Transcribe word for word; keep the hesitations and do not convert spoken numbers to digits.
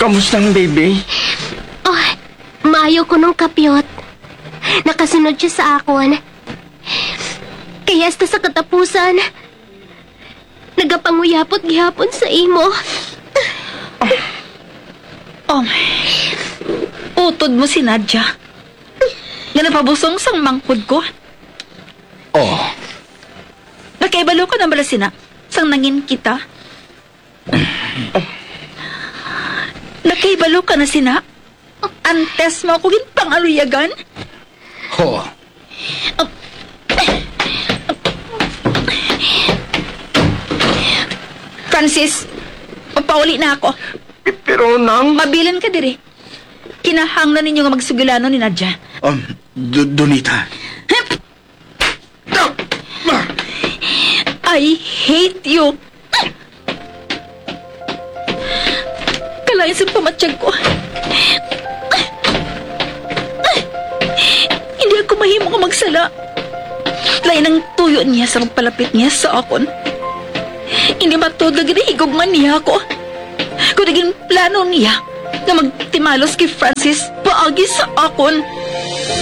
Kamusta ang baby? Oh, maayo kuno, Kapyot. Nakasunod siya sa akon. Kaya hasta sa katapusan, nagapanguyapot gihapon sa imo. Oh, utod mo si Nadia. Nga napabusong sang manghod ko. Oh, Nakaibalo ka na bala sina? Sang nangin kita? Nakaibalo ka na sina? Antes mo ako ginpangaluyagan? Ho. Francis, mapauli na ako. Pero, Nang... Mabilin ka diri. Kinahanglan ninyo nga magsugilano ni Nadia. Um, Do- Donita. I hate you. Kalain sa pamatyag ko. Hindi ako mahimo nga magsala. Lain ang tuyo niya sa pagpalapit niya sa akon. Hindi matuod nga ginahigugma niya ako. Kundi ginplano niya nga magtimalos kay Francis paagi sa akon.